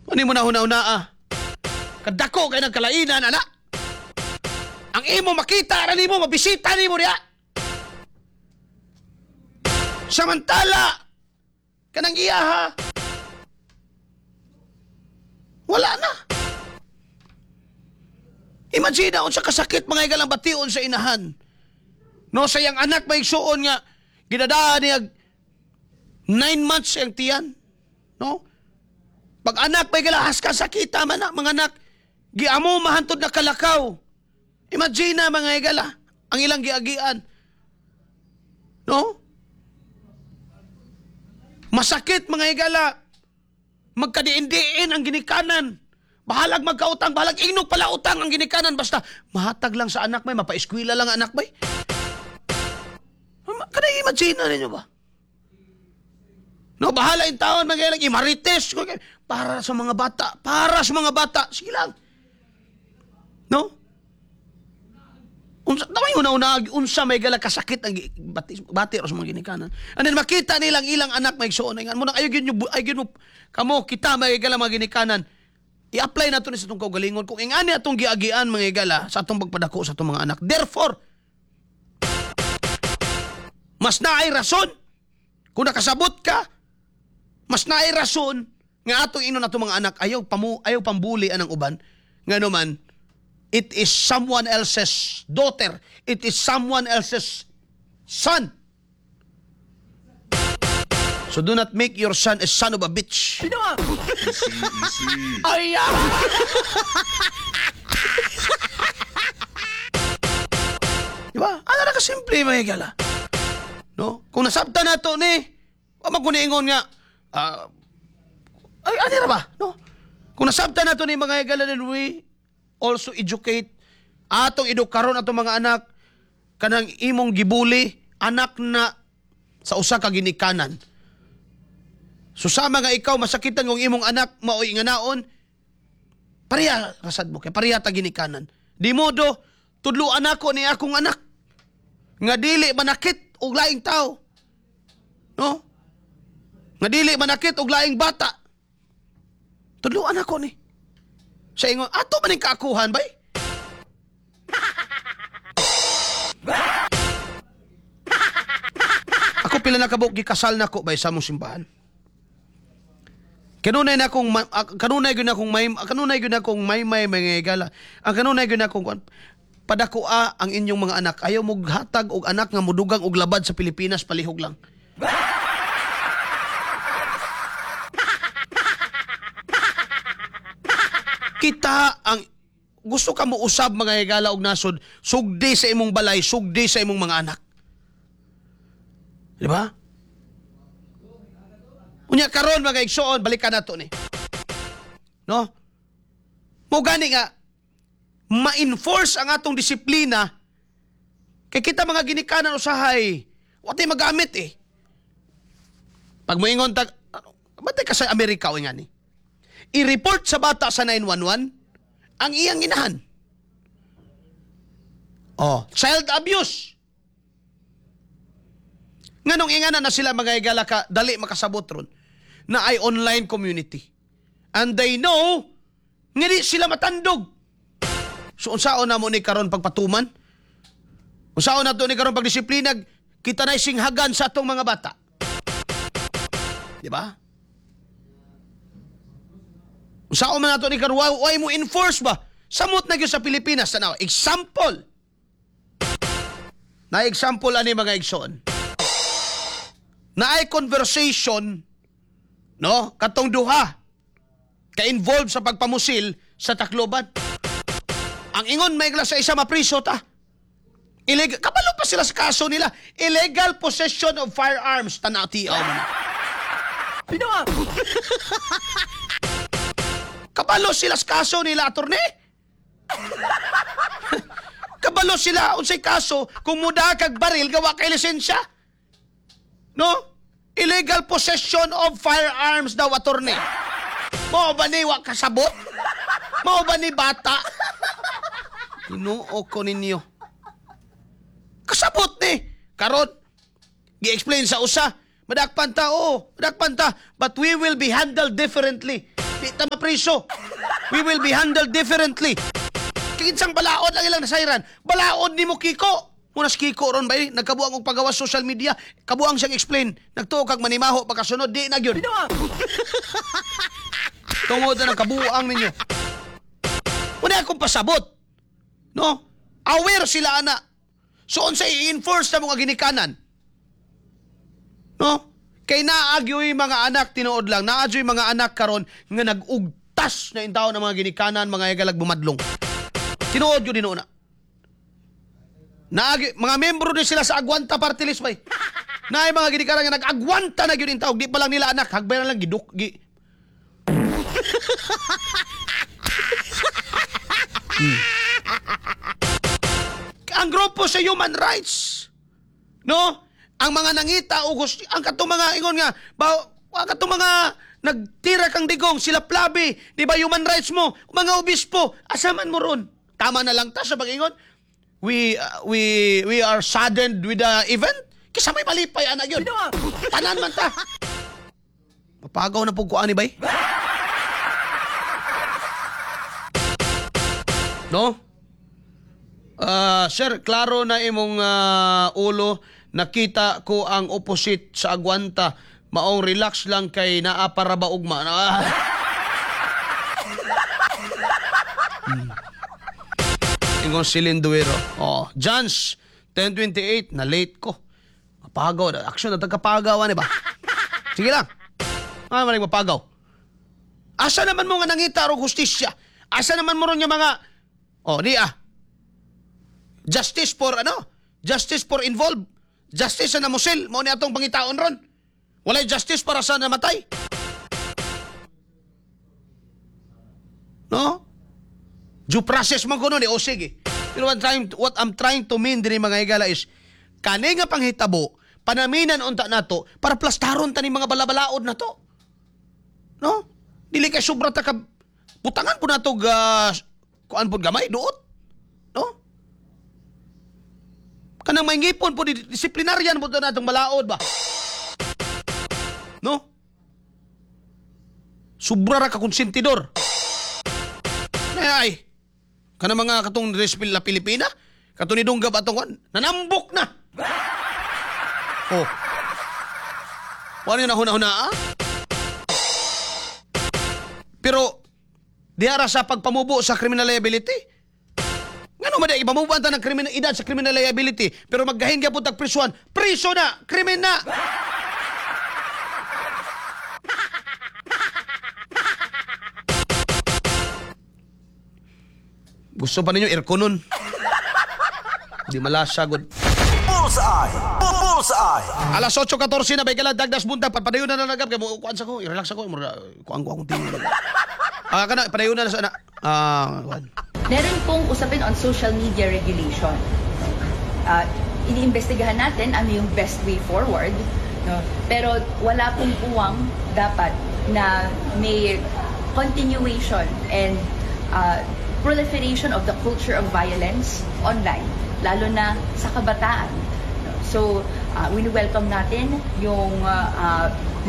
Ano mo na huna-huna ah? Kadako kay nagkalainan, ana. Ang imo makita ra nimo, mabisita nimo diha. Samantala, kanang iya ha, wala na. Imagine na unsa kasakit, mga higalang, bation sa inahan. No, sa iyang anak, may igsuon nga gidadaan niya 9 months iyang tiyan. No? Pag anak may galahas ka sakita man na, mga anak, giamo mahantod na kalakaw. Imagine na, mga higala, ang ilang giagian. No? Masakit, mga higala, magkadiin-diin ang ginikanan. Bahalag magkautang, bahalag ingnog pala utang ang ginikanan, basta mahatag lang sa anak may, mapaeskwela lang ang anak may. Kanang imagine na ninyo ba? No, bahala yung taon, mga ilang imarites. Para sa mga bata, para sa mga bata. Sige lang. No? Unsa damay una-una unsa may gala kasakit ang bati bati ra sa mga ginikanan. And then makita nilang ilang anak may igsuon nga mo nang ayo gyud ay gyud mo kamo kita may gala mga ginikanan. I-apply nato ni sa atong kaugalingon kung ingani atong giagian, mga higala, sa atong pagpadako sa atong mga anak. Therefore, mas naay rason kung nakasabot ka, mas naay rason nga atong inon atong mga anak, ayaw pamu ayaw pambuli anang uban, ngano man it is someone else's daughter, it is someone else's son. So do not make your son a son of a bitch. Ay, ah! Di ba? Ano na kasimple, mga higala? No? Kung nasabta na to ni, wa man ko niingon nga, ah, ay, ano ra ba? No? Kung nasabta na to ni, mga higala, then we also educate atong edukaron atong mga anak, kanang imong gibuli, anak na sa usa ka ginikanan. So sama nga ikaw masakitan kung imong anak maoy nga naon, pareha rasad mo kay pareha ta ginikanan. Di modo tudluan ako ni akong anak nga dili manakit og laing tao. No? Nga dili manakit og laing bata. Tudluan ako ni. Sa ingon, ato man ning kaakuhan bay? Ako pila na kabuk gikasal nako bay sa among simbahan. Kanunay gyud akong may mga higala. Ang kanunay gyud akong kuan, padakoa ang inyong mga anak. Ayaw mo hatag og anak nga mudugang og labad sa Pilipinas palihog lang. Kita ang gusto ka mo usab, mga higala, og nasod, sugdi sa imong balay, sugdi sa imong mga anak. Di ba? Unya karon, mga igsoon, balikan nato ni. No? Mo gani nga ma-enforce ang atong disiplina kay kita mga ginikanan usahay wa tay magamit eh. Pag moingon tag ano, batay ka sa Amerika o nga ni. I-report sa bata sa 911 ang iyang inahan. Oh, child abuse. Nganong ingana na sila, mga higala, ka dali makasabot ron na ay online community. And they know nga di sila matandog. So unsaon na mo ni karon pagpatuman? Unsaon na to ni karon pagdisiplina? Kita na singhagan sa atong mga bata. Di ba? Unsaon man nato ni karon why mo enforce ba? Samot na gyud sa Pilipinas, tanaw. Example. Na example ani, mga igsoon. Na ay conversation, no, katong duha ka-involved sa pagpamusil sa Tacloban. Ang ingon may sa isa, mapriso ta. Illegal, kabalo pa sila sa kaso nila. Illegal possession of firearms. Tanaw tiaw man. Kabalo sila sa kaso nila, attorney. Kabalo sila unsay kaso kung muda kag baril gawa kay lisensya. No? Illegal possession of firearms daw, attorney. Mao ba ni wa kasabot? Mao ba ni bata? Tinuo ko ninyo. Kasabot ni. Karon, gi-explain sa usa, madakpan ta, oo, madakpan ta, but we will be handled differently. Di ta mapriso. We will be handled differently. Kinsang balaod lang ilang nasayran. Balaod nimo, Kiko. Muna si Kiko ron ba eh, nagkabuang og pagawas social media, kabuang siyang explain. Nagtuo kag manimaho pagkasunod, di na gyud. Tungod na ng kabuang ninyo. Wala akong pasabot. No? Aware sila ana. So unsa i-enforce na mga ginikanan? No? Kay naagyoy mga anak, tinuod lang, naagyoy mga anak karon nga nag-ugtas na intaw ng mga ginikanan, mga higalag bumadlong. Tinuod yun din na. Naagi, mga membro din sila sa Agwanta Party List bay. Naay mga ginikanan nga nag-agwanta na gyud intaw, di pa lang nila anak, hagbay na lang giduk gi. Ang grupo sa human rights, no? Ang mga nangita o gusto, ang katong mga ingon nga, ba, ang katong mga nagtira kang digong, sila Plabi, di ba human rights mo, mga obispo, asaman mo ron? Tama na lang ta sa pag-ingon. We are saddened with the event. Kisa may malipay anak yun. Tanan man ta. Mapagaw na po ko ani bay. No? Sir, klaro na imong ulo. Nakita ko ang opposite sa agwanta. Maong relax lang kay naa para ba ugma. Ah. Ingon si Linduero. Oh, Jans, 10:28, na late ko. Mapagaw. Action na tagkapagaw, ani ba? Sige lang. Ah, maring mapagaw. Asa naman mo nga nangita og hustisya? Asa naman mo ron nga mga, oh, di ah. Justice for ano? Justice for involved. Justice sa namusil. Mao ni atong pangitaon ron. Walay justice para sa namatay. No? Due process man kuno ni o sige. Pero what I'm trying to mean dinhi, mga higala, is kani nga panghitabo, panaminan unta nato para plastaron ta ni mga balabalaod na to. No? Dili kay sobra ta ka butangan po nato ga kuan pod gamay duot. No? Kanang may ngipon po disiplinaryan po to natong balaod ba. No? Sobra ra ka konsentidor. Ay, kanang mga katong Respil la Pilipina, katong ni Dunggab atong kuan, nanambok na. Oh. Wala na huna-huna ah? Pero diara sa pagpamubo sa criminal liability. Ngano man di ipamubo ta ng criminal edad sa criminal liability, pero maggahin gyapon tag prisuan, priso na, krimen na. Gusto pa ninyo airconon? Di malasa gud. Bullseye! Bullseye! Alas 8:14 na bay kala dagdas buntag, padayon na na nagab kay mo kuan sa ko, i-relax ako, mura kuan ko akong tingin. Ah, kana padayon na sa na. Ah, kuan. Meron pong usapin on social media regulation. Iniimbestigahan natin ano yung best way forward. No? Pero wala pong puwang dapat na may continuation and proliferation of the culture of violence online, lalo na sa kabataan. No? So, wini-welcome natin yung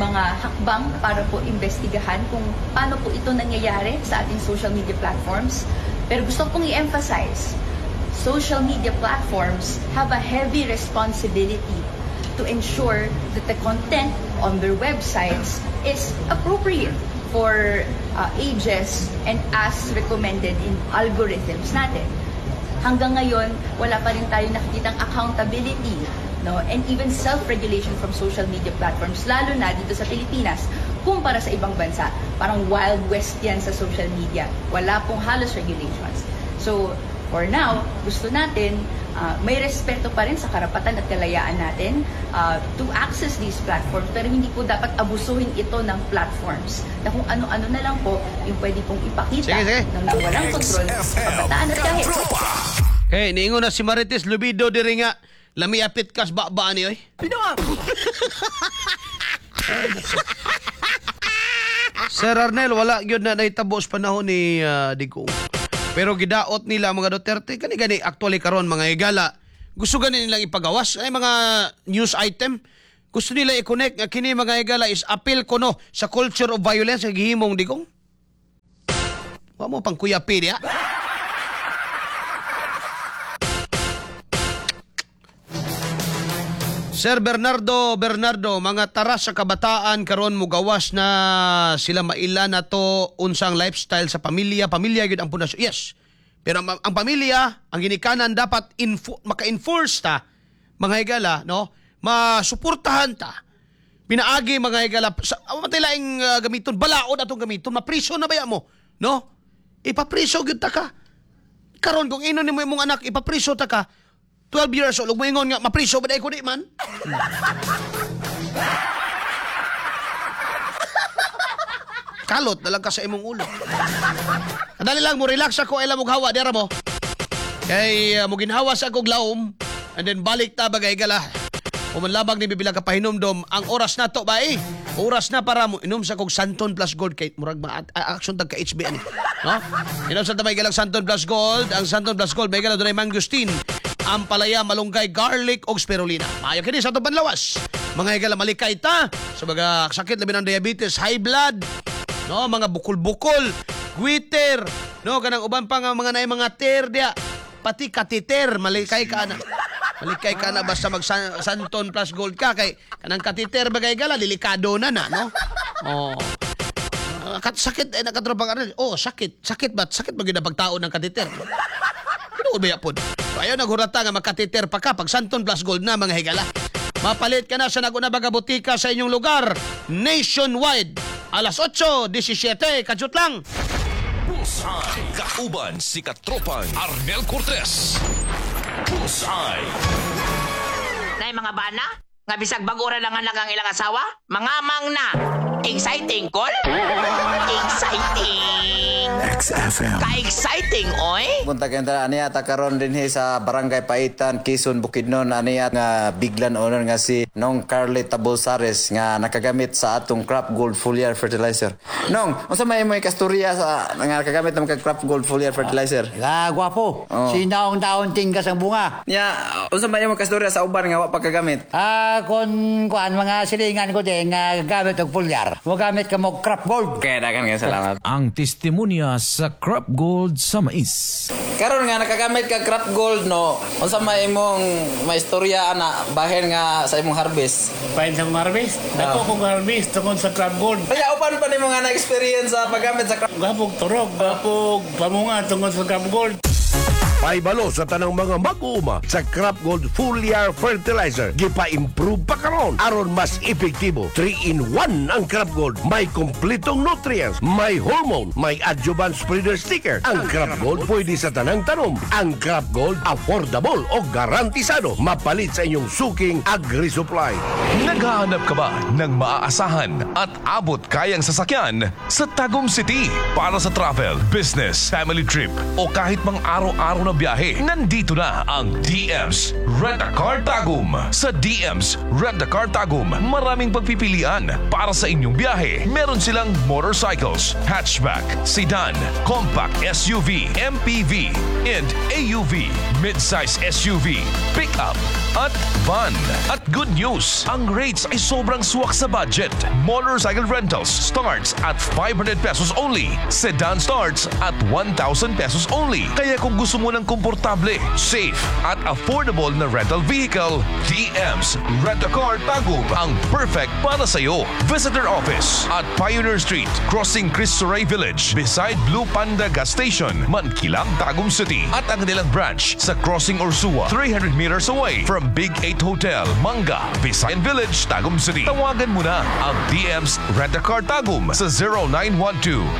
mga hakbang para po imbestigahan kung paano po ito nangyayari sa ating social media platforms. Pero gusto kong i-emphasize, social media platforms have a heavy responsibility to ensure that the content on their websites is appropriate for ages and as recommended in algorithms natin. Hanggang ngayon, wala pa rin tayo nakikitang accountability, no? And even self-regulation from social media platforms, lalo na dito sa Pilipinas. Kumpara sa ibang bansa, parang Wild West yan sa social media. Wala pong halos regulations. So, for now, gusto natin may respeto pa rin sa karapatan at kalayaan natin to access these platforms, pero hindi po dapat abusuhin ito ng platforms na kung ano-ano na lang po yung pwede pong ipakita Sige, sige. ng walang kontrol sa kabataan at kahit Katropa! Okay, niingon na si Marites Lubido diri nga lami apit kas ba ni oy. Sir Arnel, wala gyud na nahitabo sa panahon ni Digong. Pero gidaot nila mga Duterte kani gani actually karon, mga higala. Gusto gani nilang ipagawas ay mga news item. Gusto nila i-connect nga kini, mga higala, is appeal kuno sa culture of violence nga gihimong Digong. Wa mo pang kuyapi diya. Sir Bernardo Bernardo, mga tara sa kabataan karon mugawas na sila, maila na to unsang lifestyle sa pamilya, pamilya gyud ang pundasyon. Yes. Pero ang pamilya, ang ginikanan dapat maka-enforce ta, mga higala, no? Masuportahan ta. Pinaagi, mga higala sa matay laing gamiton, balaod atong gamiton, mapriso na baya mo, no? Ipapriso gyud ta ka. Karon kung inon nimo imong anak ipapriso ta ka, 12 years old, ug moingon nga mapriso ba dai ko di man? Kalot na lang ka sa imong ulo. Dali lang mo relax ako ay mo hawa dira mo. Kay mo ginhawa sa akong laom and then balik ta bagay gala. Human labag ni bibila ka pahinumdom ang oras na to ba eh. Oras na para mo inom sa kog Santon Plus Gold kay murag ma action tag ka HB ani. No? Inom sa tabay galang Santon Plus Gold, ang Santon Plus Gold may gala dunay mangosteen, ampalaya, malunggay, garlic og spirulina. Maayo kini sa atong panlawas. Mga higala, malikay ta sa mga sakit labi ng diabetes, high blood, no, mga bukol-bukol, goiter, no, kanang uban pa nga mga naay mga tear diya, pati catheter, malikay ka na. Malikay ka na basta mag Santon Plus Gold ka kay kanang catheter bagay gala delikado na na, no? Oh. Sakit eh nakatropa ka rin. Oh, sakit. Sakit ba? Sakit ba gyud ang pagtao ng catheter? Tinuod ba yapon? So, ayaw naghurata nga magkateter pa ka pag Santon Plus Gold na, mga higala. Mapalit ka na sa naguna baga butika sa inyong lugar nationwide. Alas 8:17, kadyot lang. Bullseye. Kauban si Katropang Arnel Cortez. Bullseye. Nay mga bana, nga bisag bag-o ra lang anak ang ilang asawa, mga mang na. Exciting, call? Exciting! XFM. Ka-exciting, oy! Punta kayong tanan aniya ta karon dinhi sa Barangay Paitan, Quezon, Bukidnon, aniya nga biglan owner nga si Nong Carly Tabolsares nga nakagamit sa atong Crop Gold Foliar Fertilizer. Nong, unsa may imo kasturya sa nga nakagamit ng Crop Gold Foliar Fertilizer? Ah, gwapo. Oh. Sinaong taon tinggas ang bunga. Nya, unsa may imo kasturya sa uban nga wa pa kagamit? Ah, kon kuan mga silingan ko din nga gamit og foliar. Mo gamit ka mo Crop Gold. Kaya dagan kayo salamat. Ang testimonya sa Crop Gold sa mais. Karon nga nakagamit ka Crop Gold, no, unsa may imong maistorya ana bahin nga sa imong harvest? Pain sa kong harvest. Dako kong harvest tungod sa Crop Gold. Kaya uban pa nimo nga na experience sa paggamit sa Crop Gapog turog, gapog pamunga tungod sa Crop Gold. Paibalo sa tanang mga mag-uuma sa Crop Gold Foliar Fertilizer. Gipa-improve pa karon aron mas epektibo. 3 in 1 ang Crop Gold. May kompletong nutrients, may hormone, may adjuvant spreader sticker. Ang Crop Gold pwede sa tanang tanom. Ang Crop Gold affordable o garantisado. Mapalit sa inyong suking agri-supply. Naghahanap ka ba ng maaasahan at abot kayang sasakyan sa Tagum City para sa travel, business, family trip o kahit mang araw-araw na biyahe? Nandito na ang DM's Rent a Car Tagum. Sa DM's Rent a Car Tagum, maraming pagpipilian para sa inyong biyahe. Meron silang motorcycles, hatchback, sedan, compact SUV, MPV, and AUV, midsize SUV, pickup, at van. At good news, ang rates ay sobrang swak sa budget. Motorcycle rentals starts at 500 pesos only. Sedan starts at 1,000 pesos only. Kaya kung gusto mo ng komportable, safe, at affordable na rental vehicle, DM's Rent a Car Tagum ang perfect para sa'yo. Visit their office at Pioneer Street, crossing Cristo Rey Village, beside Blue Panda Gas Station, Mankilam, Tagum City. At ang kanilang branch sa Crossing Ursua, 300 meters away from Big 8 Hotel, Manga, Visayan Village, Tagum City. Tawagan mo na ang DM's Rent a Car Tagum sa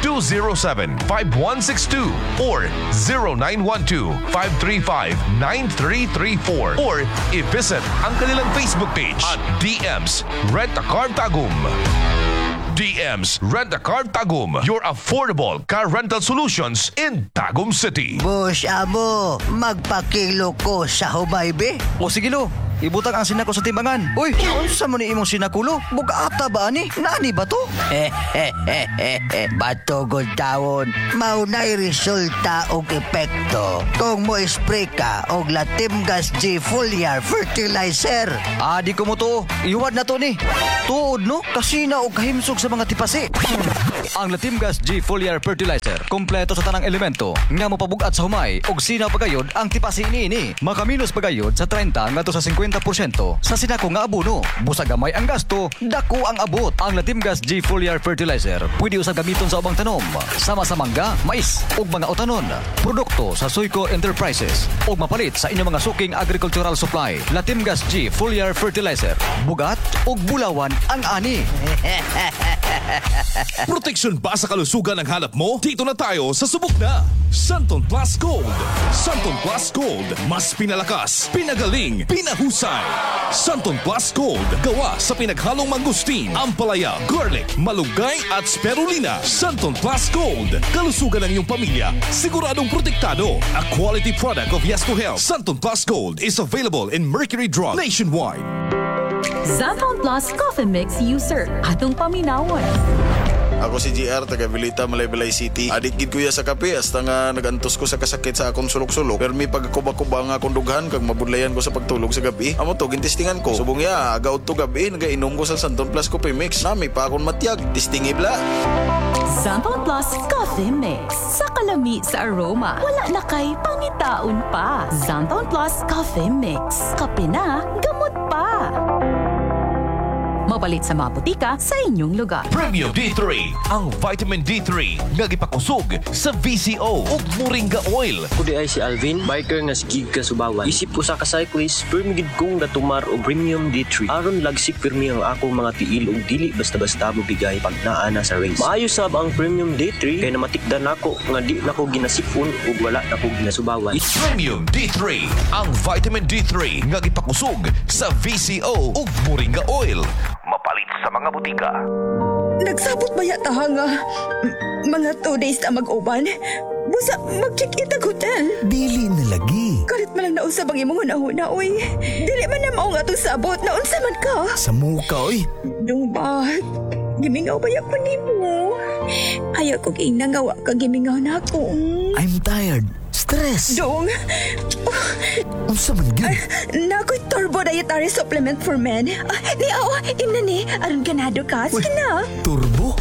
0912-207-5162 or 0912-535-9334 or i-visit ang kanilang Facebook page at DM's Rent a Car Tagum. DM's Rent a Car Tagum, your affordable car rental solutions in Tagum City. Boss Amo, magpakilo ko sa Hubaybe. O sige lo. Ibutang ang sinako sa timbangan. Uy, unsa man ni imong sinakulo? Bug-ata ba ani? Naani ba to? Bato gud tawon, mao na'y resulta og epekto kung mo spray ka og Latimgas G Foliar Fertilizer. Ah, di ko mo to. Iwad na to ni. Tuod no, kasina og kahimsog sa mga tipasi. Ang Latimgas G Foliar Fertilizer, kompleto sa tanang elemento nga mopabugat sa humay og sinaw pagayod ang tipasi niini. Makaminos pagayod sa 30 ngadto sa 50% sa sinako nga abono. Busa gamay ang gasto, dako ang abot. Ang Latimgas G Foliar Fertilizer pwede usab gamiton sa ubang tanom, sama sa mangga, mais ug mga utanon. Produkto sa Suico Enterprises ug mapalit sa inyong mga suking agricultural supply. Latimgas G Foliar Fertilizer, bugat ug bulawan ang ani. Proteksyon ba sa kalusugan ang hanap mo? Dito na tayo sa subok na! Xanthone Plus Gold! Xanthone Plus Gold. Mas pinalakas, pinagaling, pinahusay. Xanthone Plus Gold. Gawa sa pinaghalong mangosteen, ampalaya, garlic, malunggay at spirulina. Xanthone Plus Gold. Kalusugan ng iyong pamilya, siguradong protektado. A quality product of Yesco Health. Xanthone Plus Gold is available in Mercury Drug nationwide. Xanthone Plus Coffee Mix user. Atong paminawon. Ako si GR, taga Vilita, Malaybalay City. Adik gid kuya sa kape, hasta nga nagantos ko sa kasakit sa akong sulok-sulok. Pero may pagkuba-kuba nga akong dughan, kag mabudlayan ko sa pagtulog sa gabi. Amo to, gintistingan ko. Subong ya, aga udto gabi, nagainom ko sa Xanthone Plus Coffee Mix. Nami pa akong matyag, tistingi bla. Xanthone Plus Coffee Mix. Sa kalami sa aroma, wala na kay pangitaon pa. Xanthone Plus Coffee Mix. Kape na, gamot pa. Mapalit sa mga botika sa inyong lugar. Premium D3, ang vitamin D3 nga gipakusog sa VCO ug Moringa oil. Ako diay si Alvin, biker nga sigig kasubawan. Isip usa ka cyclist, pirmi gid kong gatumar og Premium D3. Aron lagsik pirmi ang akong mga tiil ug dili basta-basta mobigay pag naa na sa race. Maayo sab ang Premium D3 kay namatikdan nako nga di nako ginasipon ug wala nako ginasubawan. Premium D3, ang vitamin D3 nga gipakusog sa VCO ug Moringa oil. Mapalit sa mga botika. Nagsabot ba yata nga mga 2 days na mag-uban? Busa, mag-check-in tag hotel. Dili na lagi. Kalit man lang nausab ang imong hunahuna, uy. Dili man na mao nga atong sabot, naunsa man ka? Sa muka, oy. Dong ba? Gimingaw ba ko nimo? Ayaw ko ingna nga wa ka gimingaw na ako. I'm tired. Stress. Dong. Unsa man gyud? Naa ko'y Turbo Dietary Supplement for Men. Ah, ni aw, imna ni. Aron ganado ka. Sige na. Turbo?